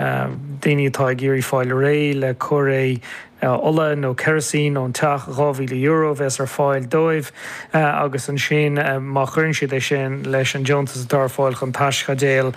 Daoine atá ag iarraidh fáil réidh le cóiréidh ola nó kerosene ón teach, €2,000 a bheas ar fáil dóibh agus ansin má chuireann siad é sin leis an deontas atá ar fáil chun taischaidéal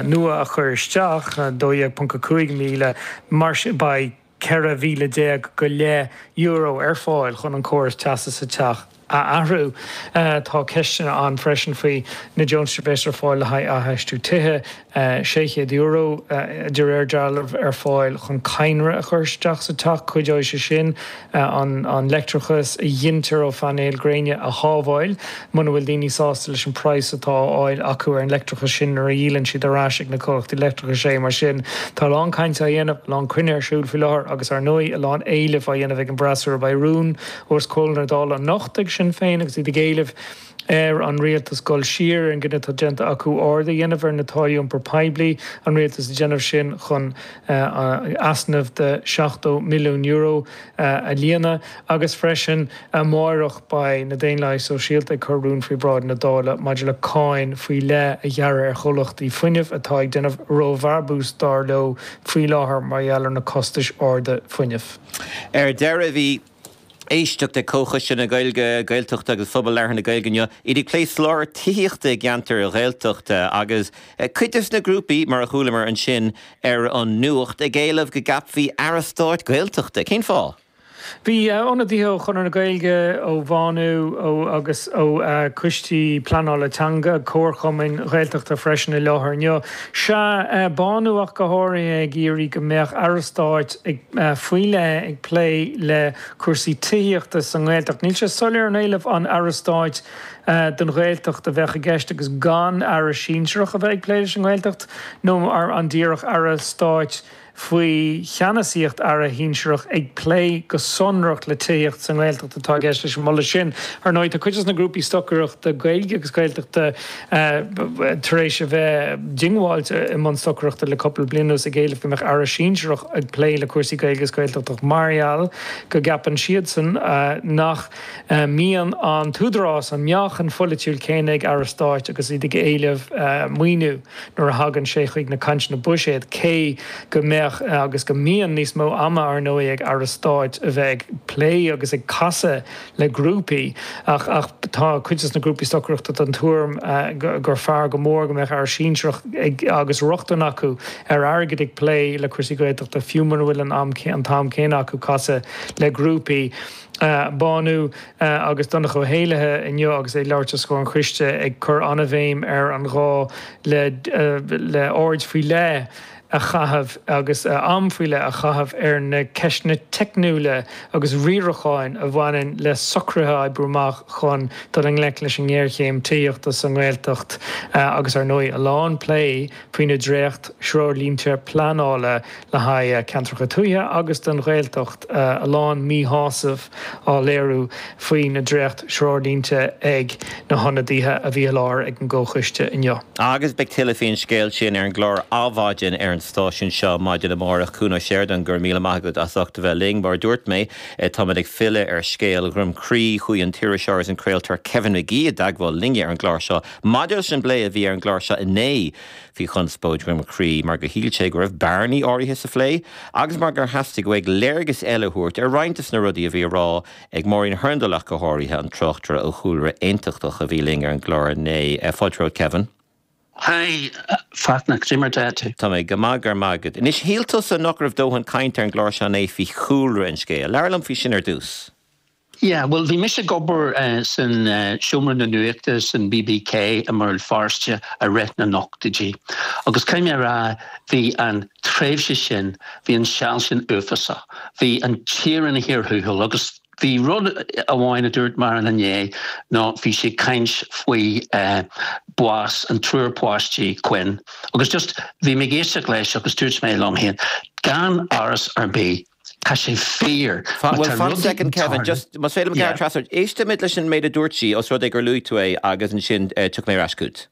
nua a chur isteach, 12.5 míle, mar sin beidh 14,000 go leith euro ar fáil chun an córas teasa sa teach a athrú. Tá ceisteanna ann freisin faoi na deontais a bheas ar fáil le haghaidh athfheistiú tithe, €600 de réir dealraimh ar fáil chun cadhnra a chur isteach sa teach. Cuideoidh sé sin an leictreachas a ghintear ó phainéil gréine a shábháil muna bhfuil daoine sásta leis an praghas atá á fháil acu ar an leictreachas sin nuair a dhíolann siad ar ais ag na comhlachtaí leictreachais é. Mar sin, tá a lán cainte á dhéanamh, a lán cruinnithe ar siúl faoi láthair agus, ar ndóigh, a lán éilimh á dhéanamh ag an bhfreasúra. Beidh rún os comhair na Dála anocht ag Sinn Féin agus iad ag éileamh ar an rialtas dul siar ar an gcinneadh atá déanta acu ardú a dhéanamh ar na táillí iompair poiblí, an rialtas ag déanamh sin chun easnamh de €70 milliún a líonadh agus freisin amáireach beidh na Daonlathaigh Sóisialta ag cur rún faoi bhráid na Dála maidir le cáin faoi leith a ghearradh ar chomhlachtaí fuinnimh atá ag déanamh róbhrabús dar leo faoi láthair mar gheall ar na costais arda fuinnimh. Ar deireadh bhí éisteacht ag Comhchoiste na Gaeilge, Gaeltachta agus Phobal Labhartha na Gaeilge inniu, iad ag plé soláthar tithíochta i gceantair Ghaeltachta agus cuid des na grúpaí, mar a chualamar ansin ar an nuacht, ag éileamh go gceapfaí Aire Stáit Gaeltachta. Cén fáth? Bhí ionadaithe ó Chonradh na Gaeilge, ó Bhánú ó agus ó choistí pleanála teanga, comharchumainn Ghaeltachta freisin i láthair inniu. Sea, Bánú ach go háirithe ag iarraidh go mbeadh Aire Stáit ag faoi leith ag plé le cúrsaí tithíochta sa nGaeltacht. Níl sé soiléir an éileamh an Aire Stáit don Ghaeltacht a bheadh i gceist agus gan Aire sinsearach a bheith ag plé leis an nGaeltacht nó an díreach Aire Stáit faoi cheannasaíocht Aire shinsearach ag plé go sonrach le tithíocht sa nGaeltacht atá i gceist leis an moladh sin. Ar ndóigh, tá cuid de na grúpaí stocaireachta Gaeilge agus Gaeltachta tar éis a bheith diongbháilte i mbun stocaireachta le cúpla bliain anuas ag éileamh go mbeadh Aire sinsearach ag plé le cúrsaí Gaeilge agus Gaeltachta mar gheall go gceapann siadsan nach mbíonn an t-údarás, an meáchan pholaitiúil céanna ag Aire Stáit agus iad ag éileamh maoiniú nuair a thagann sé chuig na cainteanna buiséid, cé go mbeadh agus go mbíonn níos mó ama ar ndóigh ag Aire Stáit a bheith ag plé agus ag casadh le grúpaí ach ach tá cuid de na grúpaí stocaireachta den tuairim gur fearr go mór go mbeadh aire sinsearach ag agus rochtain acu ar airgead ag plé le cúrsaí Gaeltachta fiú mura bhfuil an am an t-am céanna acu casadh le grúpaí. Bánú agus Donncha Ó hÉallaithe inniu agus é ag labhairt os comhair an choiste ag cur an-bhéim ar an ghá le le aird faoi leith a chaitheamh agus am faoi leith a chaitheamh ar na ceisteanna teicniúla agus riaracháin a bhaineann le socruithe a oibriú amach chun dul i ngleic leis an ngéarchéim tithíochta sa nGaeltacht agus ar ndóigh a lán plé faoi na dréacht-threoirlínte pleanála le haghaidh ceantracha tuaithe agus don Ghaeltacht, a lán míshásaimh á léiriú faoi na dréacht-threoirlínte ag na hionadaithe a bhí i láthair ag an gcomhchoiste inniu. Agus beidh tuilleadh faoin scéal sin ar an gclár Adhmhaidin ar an stáisiún seo maidin amárach. Cuan Ó Seireadáin, go raibh míle maith agat as ucht a bheith linn. Mar a dúirt mé, táimid ag filleadh ar scéal Dhroim Crí. Chuaigh an t-iriseoir agus an craoltóir Kevin Magee i dteagmháil linne ar an gclár seo maidir leis an bplé a bhí ar an gclár seo inné faoi chonspóid Dhroim Crí mar gur shíl sé go raibh bearnaí áirithe sa phlé agus mar gur theastaigh uaidh léargas eile a thabhairt ar roinnt de na rudaí a bhí á rá ag Maureen Hurndall ach go háirithe, an tráchtaire ó chúlra aontachtach a bhí linn ar an gclár inné. Fáilte romhat Kevin. Hi Fachtna, cad é mar atá tú? Tá mé go maith, go raibh maith agat. Anois, shíl tusa nach raibh dóthain cainte ar an gclár seo inné faoi chúlra an scéil. Labhair liom faoi sin ar dtús. Yeah, bhuel bhí mise ag obair san seomra na nuachta san BBK i mBéal Feirste i rith na n-ochtóidí agus caithfidh mé a rá bhí an tréimhse sin, bhí an seal sin uafásach. Bhí an tír ina chíor thuathail agus bhí rud amháin a dúirt Máirín inné ná bhí sí ag caint faoi bás an triúr páistí Quinn agus just bhí mé ag éisteacht leis agus dúirt mé liom féin gan amhras ar bith Tá sé fíor. Má Bhuel, tá fan rudaí soicind, Kevin, just, más féidir liom gearradh trasna ort, éistfimid leis an méid a dúirt sí, os rud é gur luaigh tú é, agus ansin tiocfaidh mé ar ais chugat.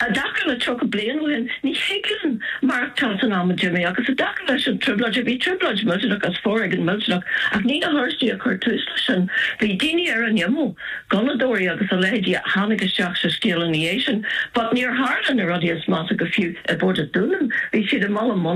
I dtaca le 30 bliain ó shin, ní thig linn maireachtáil san am a d'imigh agus i dtaca leis an trioblóid, bhí trioblóid millteanach agus foréigean millteanach ach ní na hOráistigh a chuir tús leis sin. Bhí daoine ar an imeall, gunnadóirí agus a leithéidí a tháinig isteach sa scéal ina dhiaidh sin. But níor tharla na rudaí is measa go fiú i bPort an Dúnáin. Bhí siad i mBaile Munna.